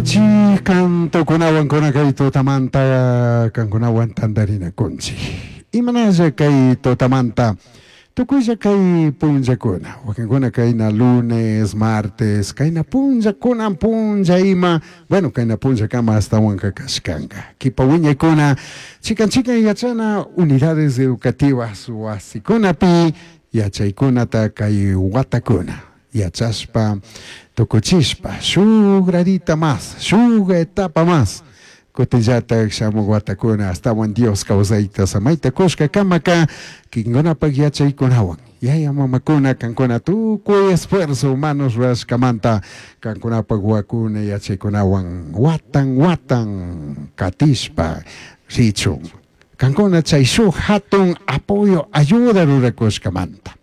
Sinchi cantokunawan kuna kay tutamanta kankunawan tantarinakunchik. Imanalla kay tutamanta tukuylla kay punllakuna, wakinkuna kayna lunes, martes, kayna punllakunan punlla ima, bueno kayna punllakama astawanka kashkanka. Kipa wiñaykuna chikan chikan yachana unidades educativas wasikunapi yachaykunata kay watakuna yachashpa tukuchishpa shuk gradita mas, shuk etapa mas kutinllatak shamuk watakuna astawan Dios kawsayta samayta kushka kamaka kikinkunapak yachaykunawan yaya mamakuna kankuna tukuy esfuerzo humanos rurashkamanta kankunapak wawakuna yachaykunawan watan watan katishpa richun kankuna chay shuk hatun apoyo ayuda rurakushkamanta.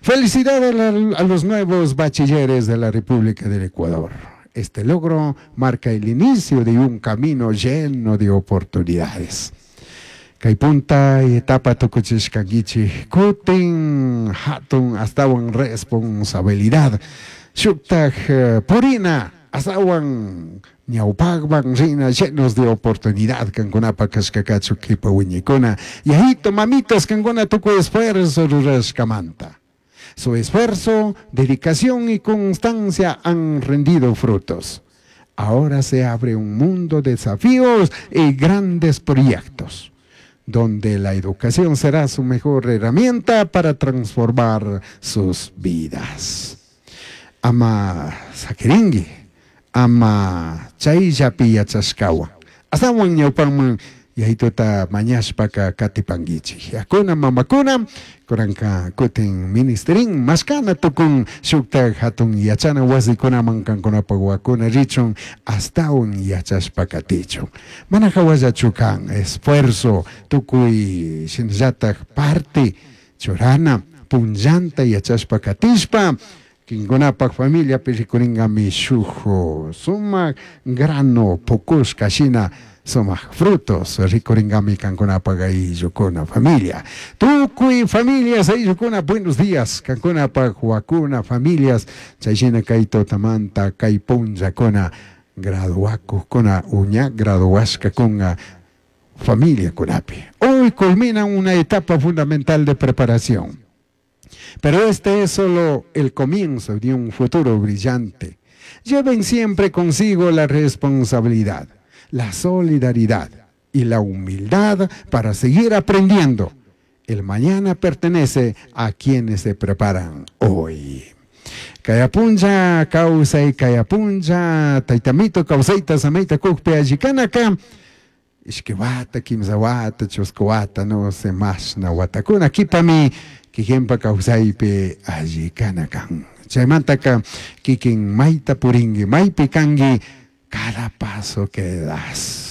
Felicidades a los nuevos bachilleres de la República del Ecuador. Este logro marca el inicio de un camino lleno de oportunidades. Kay punta etapa tukuchishkankichik kutin hatun astawan responsabilidad shuktak purina astawan ñawpakman rina llenos de oportunidad kankunapak kashkakachu kipa wiñaykuna yayito mamitas kankuna tukuy esfuerzo rurashkamanta. Su esfuerzo, dedicación y constancia han rendido frutos. Ahora se abre un mundo de desafíos y grandes proyectos, donde la educación será su mejor herramienta para transformar sus vidas. Ama sakirinki, ama chayllapi yachashkawan. Astawan ñawpanman yayituta mañashpaka katipankichik. Yakuna mamakuna kuranka kutin ministerin mashkana tukun shuktak hatun yachana wasikunaman kankunapak wawakuna richun astawan yachashpa katichun. Mana hawallachu kan esfuerzo tukuy shinallatak parte churana punllanta yachashpa katishpa kinkunapak familiapi rikuringami shuk sumak grano pukushka shina sumak frutos rikuringami kankunapak ayllukuna familia. Tukuy familias ayllukuna buenos días kankunapak wawakuna familias chayshina kay tutamanta kay punllakuna graduakukkuna uña graduashkakuna familiakunapi. Hoy culmina una etapa fundamental de preparación. Pero este es solo el comienzo de un futuro brillante. Lleven siempre consigo la responsabilidad, la solidaridad y la humildad para seguir aprendiendo. El mañana pertenece a quienes se preparan hoy. Kaya punlla kawsay, kaya punlla taytamito kawsayta samayta kukpi allikanaka ishki wata, kimsa wata, chusku wata, no sé mashna watakuna kipami kikinpa kawsaypi allikana kan. Chaymantaka kikin mayta purinki, maypi kanki, cada paso que das.